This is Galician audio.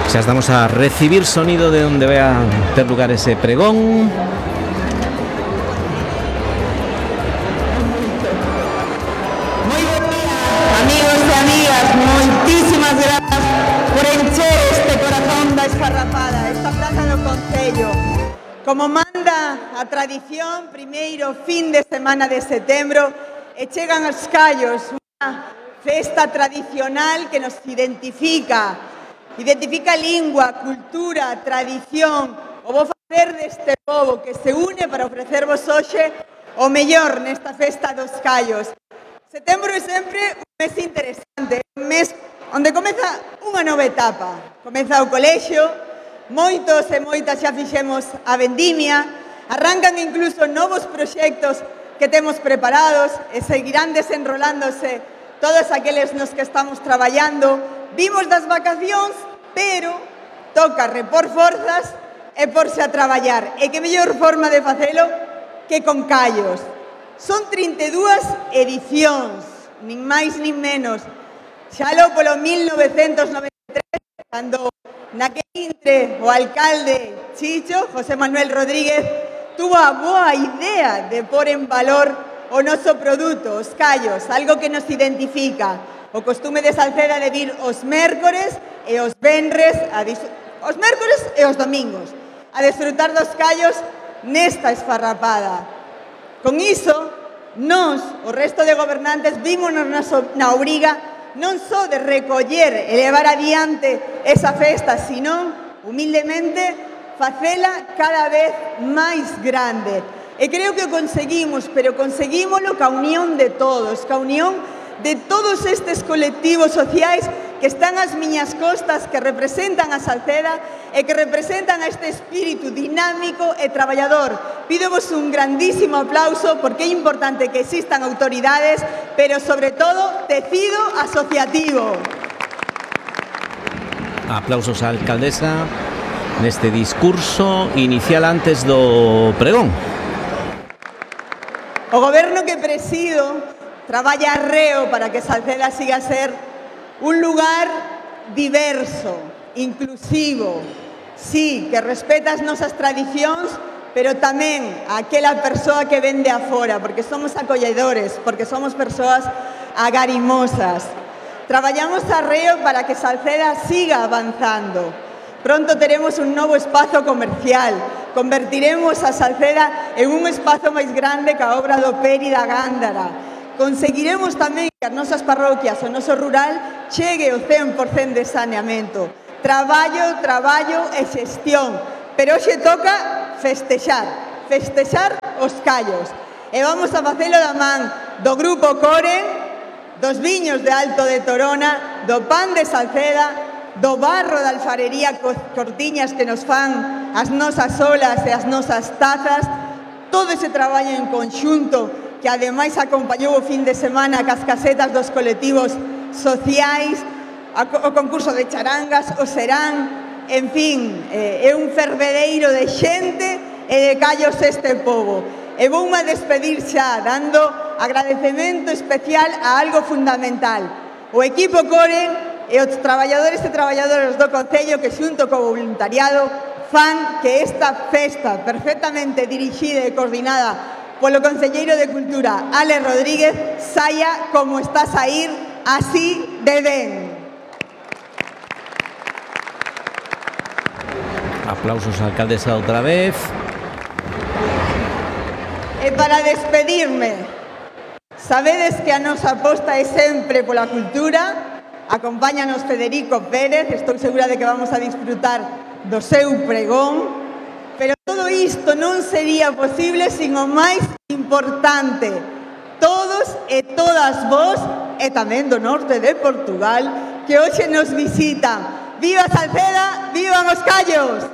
Xa estamos a recibir sonido de onde vai a ter lugar ese pregón. Moi bo día, amigos e amigas, moitísimas grazas por encher este corazón da Esfarrapada, esta plaza do Concello. Como manda a tradición, primeiro fin de semana de setembro, e chegan os callos, unha festa tradicional que nos identifica lingua, cultura, tradición, o bo facer deste pobo que se une para ofrecervos hoxe o mellor nesta festa dos callos. Setembro é sempre un mes interesante, un mes onde comeza unha nova etapa. Comeza o colexio, moitos e moitas xa fixemos a vendimia, arrancan incluso novos proxectos que temos preparados e seguirán desenrolándose todos aqueles nos que estamos traballando. Vimos das vacacións, pero toca repor forzas e porse a traballar. E que mellor forma de facelo que con callos. Son 32 edicións, nin máis nin menos. Xalo polo 1993, cando naquel intre o alcalde Chicho, José Manuel Rodríguez, tuvo a boa idea de pôr en valor o noso produto, os callos, algo que nos identifica. O costume de Salceda de vir os mércores e os venres, os mércores e os domingos, a desfrutar dos callos nesta esfarrapada. Con iso, nós, o resto de gobernantes, vímonos na obriga non só de recoller e levar adiante esa festa, sino, humildemente, facela cada vez máis grande. E creo que o conseguimos, pero conseguímolo ca unión de todos, ca unión de todos estes colectivos sociais que están ás miñas costas, que representan a Salceda e que representan a este espírito dinámico e traballador. Pídovos un grandísimo aplauso porque é importante que existan autoridades, pero sobre todo tecido asociativo. Aplausos á alcaldesa neste discurso inicial antes do pregón. O goberno que presido traballa arreo para que Salceda siga a ser un lugar diverso, inclusivo, sí, que respeta as nosas tradicións, pero tamén aquela persoa que vende afora, porque somos acolledores, porque somos persoas agarimosas. Traballamos arreo para que Salceda siga avanzando. Pronto teremos un novo espazo comercial. Convertiremos a Salceda en un espazo máis grande que a obra do Peri da Gándara. Conseguiremos tamén que as nosas parroquias, o noso rural, chegue o 100% de saneamento. Traballo, traballo e xestión. Pero hoxe toca festexar os callos. E vamos a facelo da man do Grupo Coren, dos viños de Alto de Torona, do pan de Salceda, do barro da alfarería Cortiñas que nos fan as nosas olas e as nosas tazas, todo ese traballo en conxunto que ademais acompañou o fin de semana cas casetas dos colectivos sociais, o concurso de charangas, o serán, en fin, é un fervedeiro de xente e de callos este pobo. E voume a despedir xa, dando agradecemento especial a algo fundamental. O equipo Coren e os traballadores e traballadoras do Concello que xunto co voluntariado fan que esta festa perfectamente dirixida e coordinada polo concelleiro de Cultura, Álex Rodríguez, saia como está a saír, así de ben. Aplausos á alcaldesa outra vez. E para despedirme, sabedes que a nosa aposta é sempre pola cultura. Acompáñanos Federico Pérez, estou segura de que vamos a disfrutar do seu pregón. Pero todo isto non sería posible sin o máis importante. Todos e todas vos, e tamén do norte de Portugal, que hoxe nos visitan. Viva Salceda, vivan os callos!